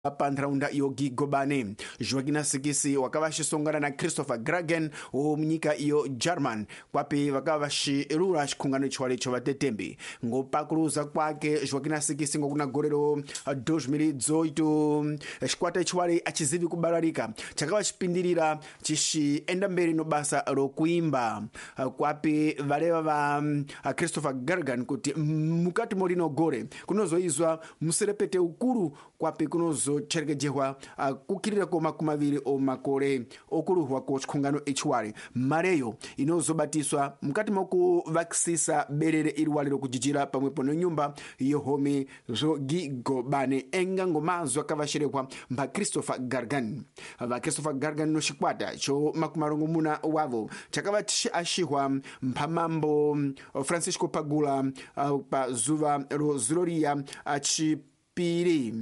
Pa nharaunda yo Gigobane. Joaquina Sikisi wakava achisongana na Christopher Gragen womunyika iyo German, kwapi vakava vachirura chikhungano chiwale cho vatetembi. Ngopakuluza kwake Joaquina Sikisi ngokuna gore ro 2018, chikwata chiwale achizivi kubalalika, chakava chipindirira chichienda mberi no basa rokuimba, kwapi valeva va Christopher Gargan kuti mukati molino gore kunozoizwa muserepete ukuru, kwapi kunozocherekejehwa kukirira ko 20 o makore okuluhwa ko chikhungano ichiwale. Mareyo inozobatiswa mukati mokuvakisisa berere iliwale lokujijira pamwepo no nyumba yohomi zogigobane, enga ngomazo akavaxerekwa mba Christopher Gargan. Va Christopher Gargan no xikwata xo 60 wavo chakava axihwa mphamambo Francisco Pagula pa zuva ro zuloriya achipiri,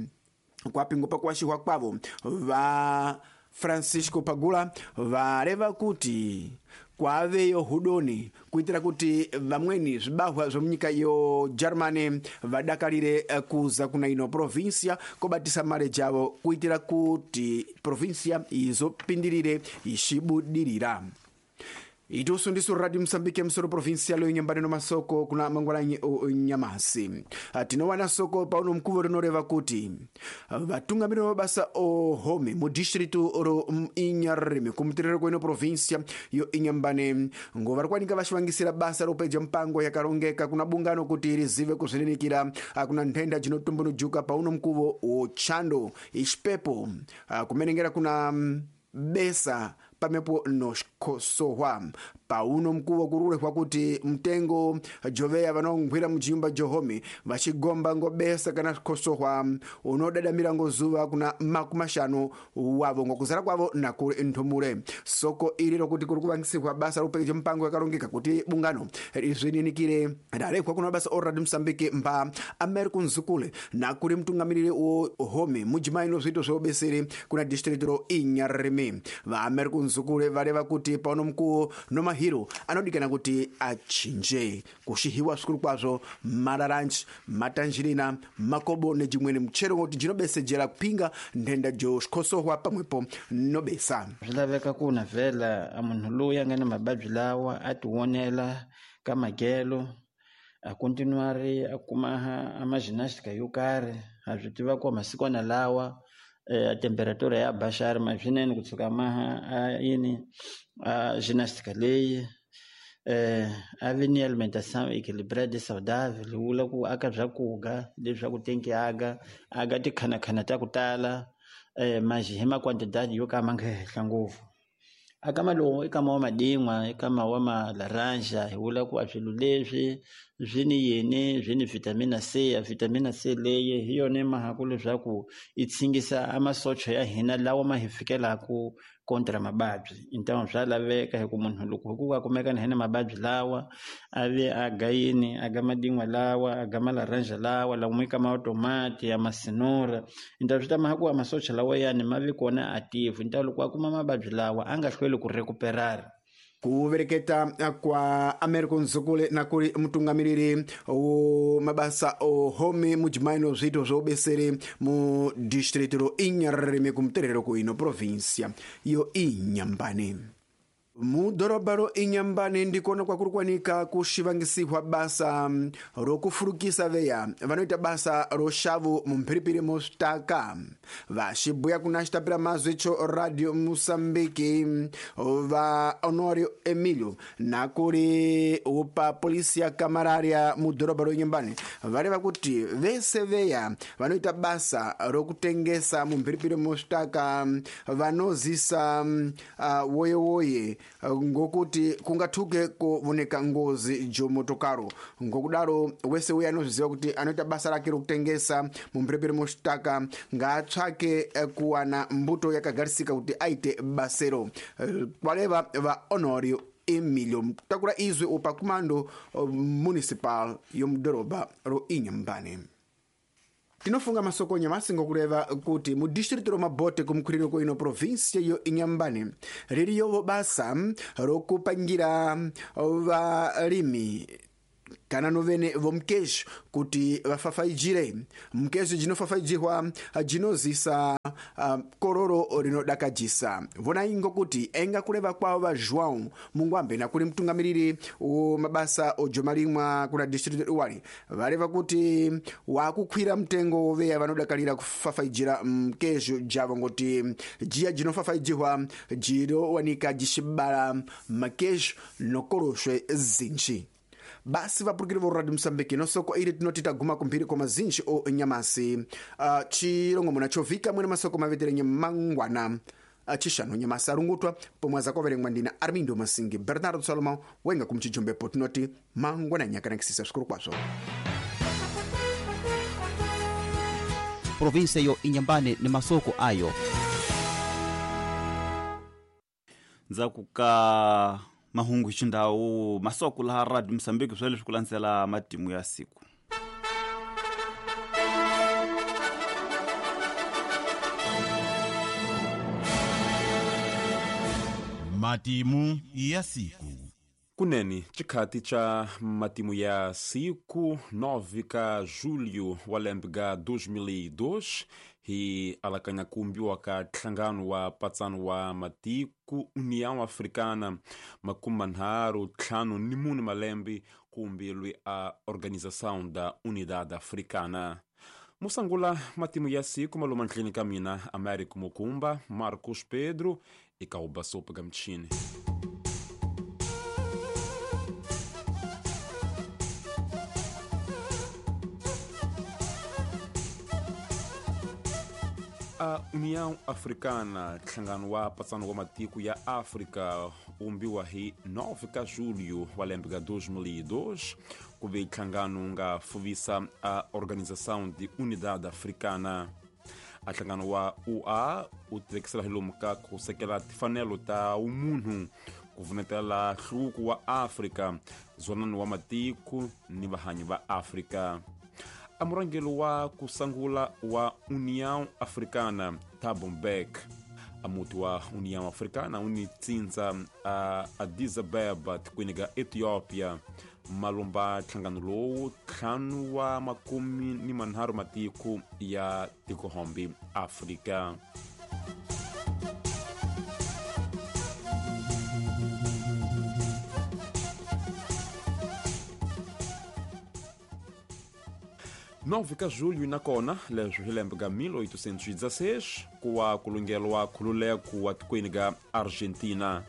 kwapi ngopakuwaxihwa kwavo va Francisco Pagula vareva kuti kwaveyo hudoni kuitira kuti vamweni zvibahwa zvomunyika yo Germany vadakarire kuza kuna ino provinsia kobatisa mare javo kuitira kuti provinsia izopindirire ixibudirira. Itusu ndisu Radio Msambike, msoro provincial yonyambani no masoko kuna mangwalanyi onyamasi. Tinowana soko pauno mkuvo rinoreva kuti vatungamiri vamabasa ohome mu distritu ro Inharime kumutiriro kweno provincia yo Inhambane ngo vari kuwanika vaxivangisira basa ropeja mpango yakarongeka kuna bungano kuti rizive kuzvininikira kuna nthenda jinotumbunujuka pauno mkuvo wochando ixipepo kumenengera kuna besa pamwepo noxikosohwa. Pauno mkuvo kururehwa kuti mtengo joveya vanongwira mujimba johome vachigomba ngobesa kana xikosohwa unodadamira ngozuva kuna 50 wavo ngokuzara kwavo nakuri nthumule. Soko ili lokuti kuri kuvangisirwa basa lokupekeja mpango yakarongeka kuti bungano rizvininikire rarehwa kuna basa o Radio Msambiki mba Americo Nzukule nakuri mtungamiriri wo home mujimai no zviito zveubeseri kuna district ro Inharime. Va Americo Nzukule vareva kuti pauno mkuwo no mahiro anodikana kuti achinje kuxihiwa zvikuru kwazvo mararanji, matanjirina, makobo nejimweni mchero ngoti jinobesejera kupinga nthenda jo xikhosohwa pamwepo nobesa. Swi laveka ku na vhela a munhu loyi a nga na mavabyi lawa a ti vonela ka makelo, a continuari a kuma a ma-gymnastic yo karhi. Ha swi tiva ku masikwana lawa a temperatura ya baxari ma swinene kusuka maha a yini a gymnastic leyi, a vi ni alimentation équilibrée saudável, vula ku aka swakudya leswaku tenki aga aga tikhanakhana ta ku tala, maxi hi makwantidadi yo ka ma nga henhla ngopfu. Aka lowu i kama wa madin'wa i kama wa malaranja, hi vula ku a swilo leswi swi ni yini, swi ni vitamina C. A vitamina C leyi hi yona mhaka leswaku yi tshingisa a masocha ya hina lawa ma hi fikelaku kontra mavabyi. Então swa laveka hi ku munhu loko hi ku a kumeka na hi na mavabyi lawa a ve a ga yini, a ga madin'wa lawa, a ga malaranja lawa lamo i kama wa tomati ya masinura. Então swi ta mhaka ku a masocha lawayani ma vi kona active, então loko a kuma mavabyi lawa a nga hlweli ku recuperar. Kuvereketa kwa Americo Nzukule nakuri mutungamiriri wo mabasa ohome mujimai no zviito zvoubeseri mu distritu ro Inharime kumuterero kuino provinsia yo Inhambane. Mudhorobha ro Inhambane ndikona kwakuri kuwanika kuxivangisihwa basa rokufurukisa veya vanoita basa roxavo mumphiripiri moswitaka. Vaxibuya kuna xitapira mazwi cho Radio Mosambiki va Honorio Emilio nakuri upa polisia kamararia mudhorobha ro Inhambane vareva kuti vese veya vanoita basa rokutengesa mumphiripiri moswitaka vanozisa woyewoye ngokuti kungathuke kuvoneka ngozi jomotokaro. Ngokudaro wese uye anozviziva kuti anoita basa rake rokutengesa mumphiripiri moxitaka ngaatsvake kuwana mbuto yakagarisika kuti aite basero, kwaleva va Honorio Emilio takura izwi upa kumando municipal yomudhorobha ro Inhambane. Tinofunga masoko nyamasi ngokureva kuti mu distritu romabote kumukhwiriro kwino provinsia yo Inhambane ririyovo basa rokupangira valimi Kana novene vomkejo kuti vafafaijire mkejo jinofafaijihwa jinozisa kororo rinodakajisa. Vonai ngokuti enga kuleva kwavo va João Mungwambe na kuli mtungamiriri wo mabasa ojomalimwa kuna district iwali valeva kuti wakukhwira mtengo woveya vanodakalira kufafaijira mkejo javo ngoti jiya jinofafaijihwa jirowanika jixibala makejo nokoloxwe zinji. Basi vapurukiri vo Radio Msambiki nosoko ili tinoti taguma kumphiri kwa mazinji o nyamasi chilongomona chovika mwene masoko maveterenye mangwana chixanu nyamasi arungutwa pomwe azakoverengwa ndina Armindo Masingi Bernardo Salomão wenga kumchijombepo tinoti mangwana nyakanakisisa svikuru kwazvo. Provinsia yo Inyambane ni masoko ayo ndzhaku ka mahungu xindhawu masoko laha Radio Msambiki swa leswi ku landzela matimu ya siku. Matimu ya siku. Kunene chikhati cha matimu ya siku 9 ka julho wa lembe ga 2002 hi alakanya kumbiwa ka nhlangano wa patsano wa matiko União Africana 34 malembe kumbilwe a Organização da Unidade Africana. Musangula matimu ya siku maluma ndlini ka mina Américo Mukumba, Marcos Pedro e Kauba Sopa Gamchini. A União Africana, nhlangano wa patsano wa matiko ya África, umbiwa hi 9 ka julho wa lembe ga 2002 ku ve nhlangano wu nga fuvisa a Organização de Unidade Africana. A nhlangano wa UA wu tivekisela hi lomu ka ku sekela timfanelo ta umunhu, ku vunetela nhluvuko wa África, dzonano wa matiko ni vahanyi va África. A murhangeri wa ku sungula wa União Africana Thabo Mbeki. A muti wa União Africana wu ni tsindza a Addis Abeba tikweni ga Ethiopia malomba nhlangano lowu ntlhanu wa makume ni manharhu matiko ya tikohombi Afrika. 9 ka julho nakona leswi hi lembe ga 1816 kuwa kulungelwa khululeko wa tikweni ga Argentina.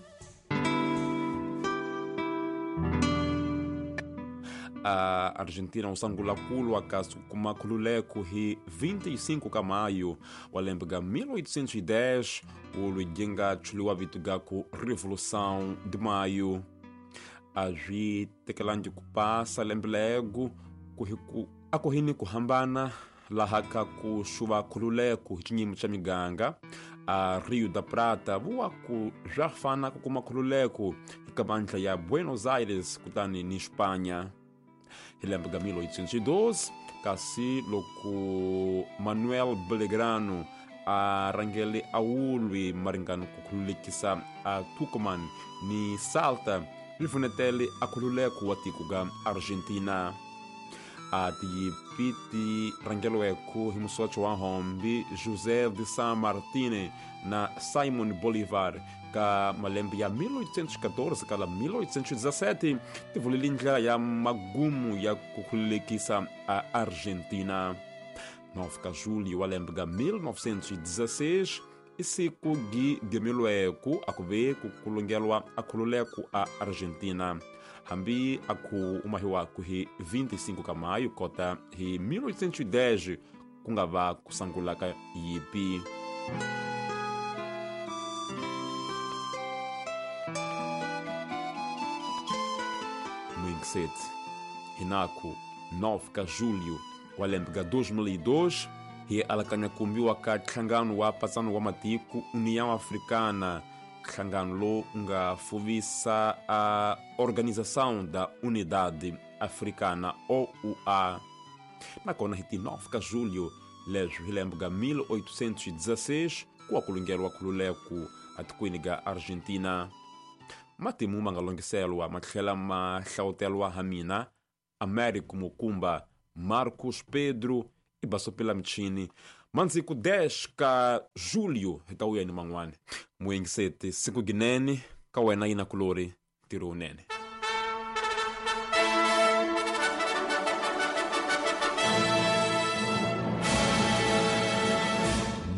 A Argentina usangula kulwa ka kuma khululeko hi 25 ka maio wa lembe ga 1810 ulwi jinga chuliwa vitu ga ku Revolução de Maio. A swi tekelangi ku pasa lembe lego ku akuhini kuhambana laha ka ku xuva khululeko hi xinyimi xa miganga a Rio da Prata vuwa ku swa fana ku kuma khululeko eka vandla ya Buenos Aires kutani ni Espanha. Hi lembe ga 1812 kasi loko Manuel Belgrano a rhangele a wulwi maringano ku khululekisa a Tucumán ni Salta ri vunetele a khululeko wa tiko ga Argentina. A tiyipi ti rhangeliweke hi musocho wa hombi José de San Martín na Simon Bolivar ka malembe ya 1814 kala 1817 ti vulile ndlela ya magumu ya ku khululekisa a Argentina. 9 ka julho wa lembe ga 1916 i siku gi gemilweke a ku ve ku kulungelwa a khululeko a Argentina. Hambi a ku umahiwaku hi 25 ka maio kota hi 1810 ku nga va ku sungula ka yipi. Mwingiset hinaku 9 ka julho wa lembe ga 2002 hi alakanya kumbiwa ka nhlangano wa patsano wa matiko União Africana, nhlangano lowu nga fuvisa a Organização da Unidade Africana OUA. Nakona hi ti 9 ka julho leswi hi lembe ga 1816 ku wa kulungeriwa khululeko atikweni ga Argentina. Matimu ma nga longiselwa ma tlhela ma hlawutelwa ha mina Américo Mukumba, Marcos Pedro i basopela michini. Mantsiku 10 ka julho hi ta wuya ni man'wana. Muyingiseti siku ginene ka wena yina kulori ntirho wunene.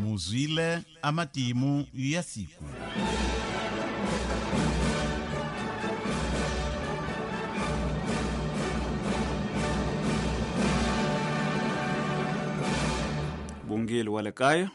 Muzwile amatimu ya siku. Bungeli wa le kaya.